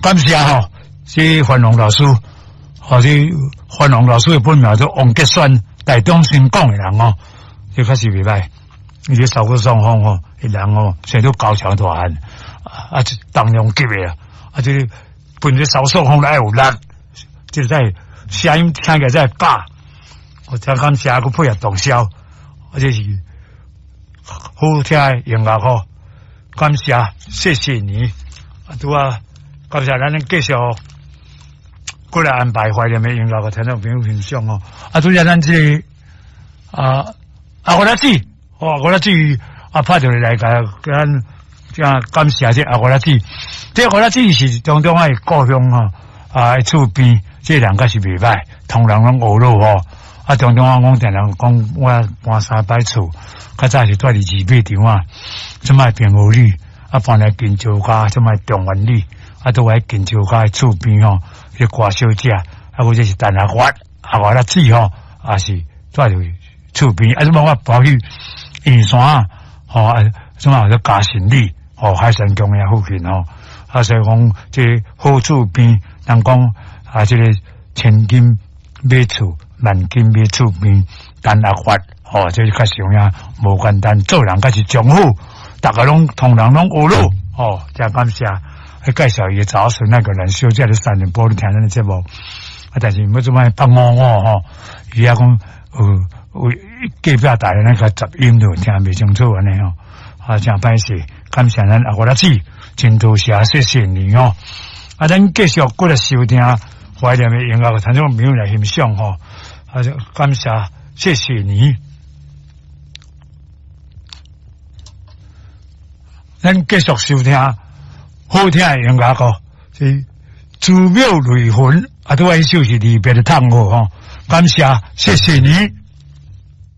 感謝吼，這范龍老師，吼，這范龍老師的本名做王杰選，台中新港的人哦，這確實袂歹。伊這燒骨雙方吼，彼人吼，生做高強大漢，啊，重量級的啊，啊，這個本身燒索風來有力，這個在聲音聽起來才會飽。我真感謝，閣配合洞簫，啊，這是好聽的音樂吼。感謝，謝謝你。啊，拄啊，感謝咱繼續過來安排懷念的音樂，予聽眾朋友欣賞哦。啊，拄才咱這個啊，阿國仔姊，哦，阿國仔姊啊，拍電話來共咱這感謝這阿國仔姊。這阿國仔姊是中中的故鄉吼，啊，厝邊這人確實袂歹，同人攏學魯吼。啊，中中我講定人講，我搬三擺厝，較早是住佇二馬場啊，這擺平和里，啊搬來金石家，這擺中原里，啊都喺金石家的厝邊吼，彼歌小姐，啊，或者是陳阿月，阿月仔姊吼，也是住佇厝邊，啊，這擺我搬去圓山，吼，啊，這擺叫嘉信里，吼，海山公園附近吼，啊，所以講這好厝邊，人講啊，這個千金買厝，萬金買厝邊，陳阿發，吼，這是確實有影，無簡單，做人確實真好，逐个攏同人攏學魯，吼，真感謝。去介紹伊的查某孫那個人小姐咧三重埔咧聽咱的節目，啊，但是欲這擺北五五吼，伊遐講有隔壁台的那個雜音就聽袂清楚按呢吼，啊，真歹勢，感謝咱阿國仔姊，真多謝，謝謝你哦。啊，咱繼續過來收聽懷念的音樂，聽眾朋友來欣賞吼，啊，感謝，謝謝你。咱繼續收聽好聽的音樂哦，是珠妙淚痕，啊，拄仔彼首是離別的嘆號吼，感謝，謝謝你。